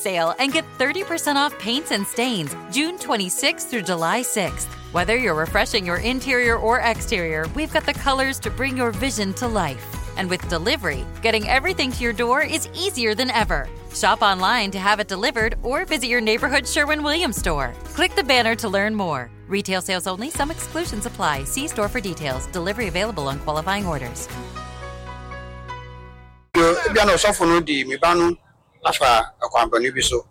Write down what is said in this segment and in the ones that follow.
sale and get 30% off paints and stains June 26th through July 6th. Whether you're refreshing your interior or exterior, we've got the colors to bring your vision to life. And with delivery, getting everything to your door is easier than ever. Shop online to have it delivered or visit your neighborhood Sherwin Williams store. Click the banner to learn more. Retail sales only, some exclusions apply. See store for details. Delivery available on qualifying orders. Ebia na ɔsɔfo no de me ba no afa ɔkwammɔne bi so.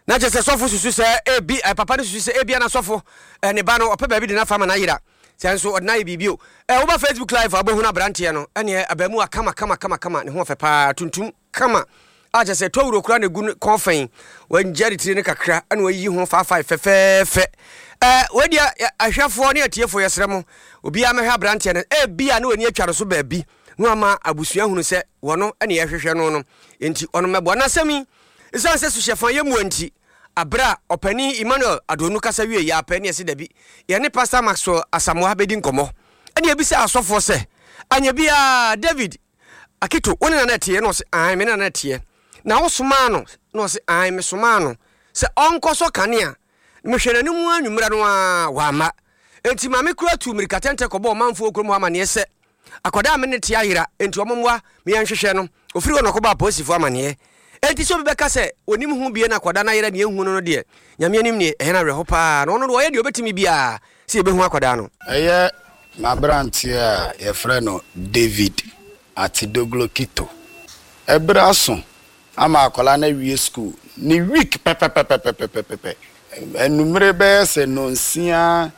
Na kyerɛ sɛ sɔfo susu sɛ ebi eh, papa no susu sɛ ebia na sɔfo eh, ne ba no ɔpɛ baabi de no afa ma no ayera sɛ nso ɔde no ayɛ biribi o. Eh, woba Facebook live a wobɛhunu aberanteɛ no ɛneɛ abaamuwa kama kama kama kama ne ho ɔfɛ paa tuntum kama a kyerɛ sɛ towuro koraa na egu ne kɔn fɛn wangya ne tiri no kakra ɛna wayiyi ho faafae fɛfɛɛfɛ. Eh, wei deɛ ahwɛfoɔ ne atiefoɔ yɛsrɛ mo obiara mɛhwɛ aberanteɛ no ebia na w'ani atwa no so baabi na wama abusua hunu sɛ wɔno ne yɛhwehwɛ no no enti ɔno mɛboa no asɛm yi Esiane sɛ suhyɛfa yɛ mua nti, bere a Ɔpanyin Emmanuel Adonu kasa wiei ara pɛ ne yɛse dabi, yɛne Pastor Maxwell Asamoah bedi nkɔmmɔ. Ɛnna yebisaa asɔfoɔ sɛ, Anyɛ biara, David Akito, wo ne Nana teɛ? Ɛnna ɔse, Aane, me ne Nana teɛ. Na wosomaa no? Ɛnna ɔse, Aane, mesomaa no sɛ ɔnkɔsɔ kanea. Mehwɛɛ n'anim anwummerɛ no ara, wamma. Enti Maame koraa tuu mmirika tɛntɛ kɔbɔɔ ɔmanfoɔ wɔ kurom hɔ amanneɛ sɛ, Akwadaa a me ne no te ayera, enti wɔmmoa me yɛnhwehwɛ no. Ɔfiri hɔ na ɔkɔbɔɔ apolisifoɔ amanneɛ. Enti sɛ obi bɛka sɛ ɔnim ho bie na akwadaa no ayera nea ɛnhu no no deɛ, Nyame anim nie, ɛyɛ no awerɛho pa ara. Na ɔno deɛ ɔyɛ deɛ ɔbɛtumi biara sɛ yɛbɛhu akwadaa no. Ɛyɛ m'aberanteɛ a yɛfrɛ no David Atidoglo Kito. Ɛberɛ aso ama akwadaa no awie sukuu ne week pɛpɛpɛpɛpɛpɛpɛ. Anumere bɛyɛ sɛ nnɔnsia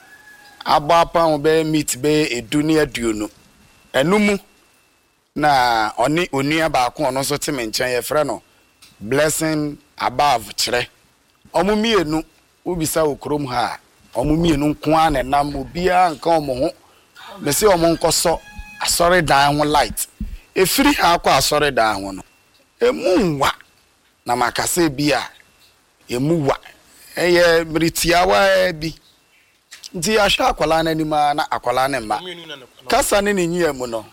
abɔ apam bɛyɛ meet bɛyɛ edu ne aduonu. Ɛno mu na ɔne onua baako a ɔno nso te me nkyɛn yɛfrɛ no Blessing Above Kyerɛ. Wɔn mmienu wobisa wɔ kurom ha a, wɔn mmienu nko ara na ɛnam, obiara nka wɔn ho. Mese wɔn nkɔsɔ asɔredan ho light. Ɛfiri ha kɔ asɔredan ho no, ɛmu nwa. Na maka sɛ ebia ɛmu wa. Ɛyɛ mmere tiawa bi. Nti yɛahwɛ akwadaa no anim ara na akwadaa no mma. Kasa ne ne nyia mu no,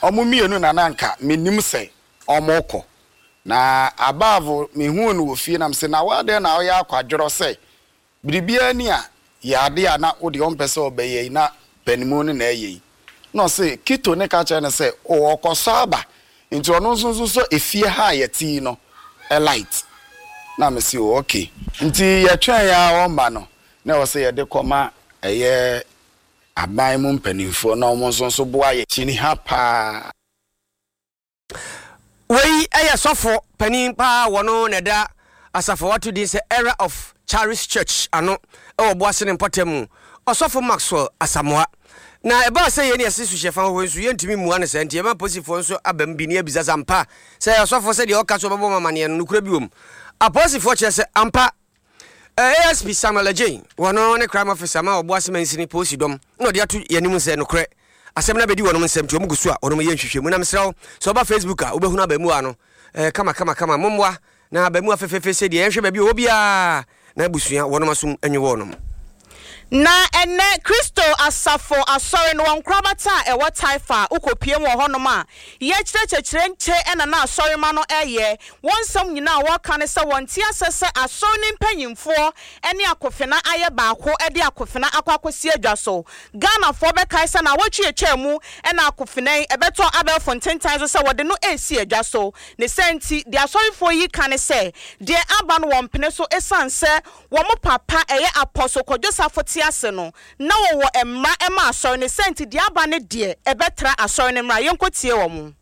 wɔn mmienu na na anka menim sɛ wɔrekɔ. Na above mehuu no wɔ fie na mese, na wo adɛn na woyɛ akwadworɔ sɛ biribiara ni a yɛ adeɛ a na wo deɛ wompɛ sɛ wobɛyɛ yi na panimu no na ɛyɛ yi. Na ɔse Kito ne ka kyerɛ no sɛ oh ɔkɔsɔ aba nti ɔno nso nso sɔ efie ha a yɛte yi no light. Na mese oh okay. Nti yɛtwɛn ara ɔmma no na ɛwɔ sɛ yɛde kɔma ɛyɛ aban mu mpanimfoɔ na wɔn nso nso boa yɛn. Kyini ha paa. Wei yɛ sɔfo panin paa wɔno na ɛda asafo a wɔato din sɛ Era of Charis Church ano wɔ Boase ne mpɔtam mu, Ɔsɔfo Maxwell Asamoah. Na ɛbaa sɛ yɛn yɛse suhyɛfa hɔ nso yɛntumi mmua no saa nti yɛma apolisifoɔ nso aba mu bi na yɛabisa sɛ ampa sɛ ɔsɔfo sɛdeɛ ɔka sɛ ɔbɛbɔ mo amaneɛ no nokorɛ bi wɔ mu. Apolisifoɔ kyerɛ sɛ ampa ASP Samuel Adjei, wɔno ne crime officer ma Ɔboase mansini polisi dɔm na ɔde ato yɛn anim sɛ nokorɛ asɛm no abɛdi wɔnom nsam nti wɔn gu so a wɔnom yɛ nhwehwɛmu na mesrɛ wo sɛ woba Facebook a wobɛhunu abaamua no eh, kama kama kama mommoa na abaamua fɛfɛɛfɛ sɛ deɛ yɛnhwɛ baabi ɔwɔ biara na abusua wɔnom asom nwe wɔnom. Na ɛnnɛ, Kristo asafo asɔre no wɔ nkorabata a ɛwɔ Taifa a wokopue mu wɔ hɔnom a yɛkyerɛkyerɛkyerɛ nkyɛ na na asɔremma no reyɛ. Wɔn nsɛm nyinaa a wɔka ne sɛ wɔnte aseɛ sɛ asɔre no mpanyimfoɔ ne akofena ayɛ baako de akofena akɔ akɔsi adwa so. Ghanafoɔ bɛkae sɛ naawɔtwe atwaa mu na akofena yi ɛbɛtɔɔ abɛɛfo ntentan so sɛ wɔde no resi adwa so. Ne saa nti, deɛ asɔrefoɔ yi ka ne sɛ deɛ aba no wɔmpene so ɛsiane sɛ Wɔn papa, ɛyɛ Apostle Kwadwo Safo te ase no, na wɔwɔ mmara ma asɔre no, sɛ nti deɛ aba no deɛ, ɛbɛtra asɔre no mmara. Yɛnkɔ tie wɔn.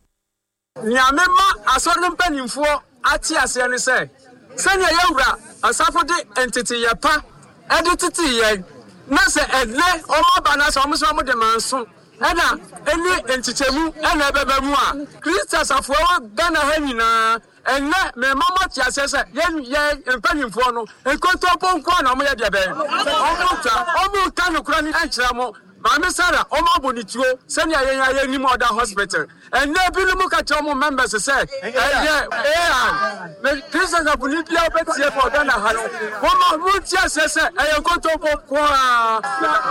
Nea mema asɔre no mpanimfoɔ ate aseɛ ne sɛ, sɛdeɛ yɛn Wura Asafo de nteteyɛ pa de tetee yɛn, na sɛ ɛnnɛ wɔaba na sɛ wɔn nso wɔde manso na ɛne nkyekyɛmu na ɛbɛba mu a, Kristo asafo a ɛwɔ Ghana ha nyinaa, Ɛnnɛ, merema moate aseɛ sɛ yɛn, yɛn mpanimfoɔ no, nkontompo nko ara na wɔyɛ deɛ bɛn? Wɔtwa, wɔnka nokorɛ no nkyerɛ mo. Maame Sarah, wɔabɔ no tuo sɛdeɛ yɛn ara yɛnim ɔda hospital. Ɛnnɛ, ebinom ka kyerɛ wɔn members sɛ ɛyɛ AI. Me, Christ asafoni biara wobɛtie wɔ Ghana ha no, momma monte aseɛ sɛ ɛyɛ nkontompo nko ara.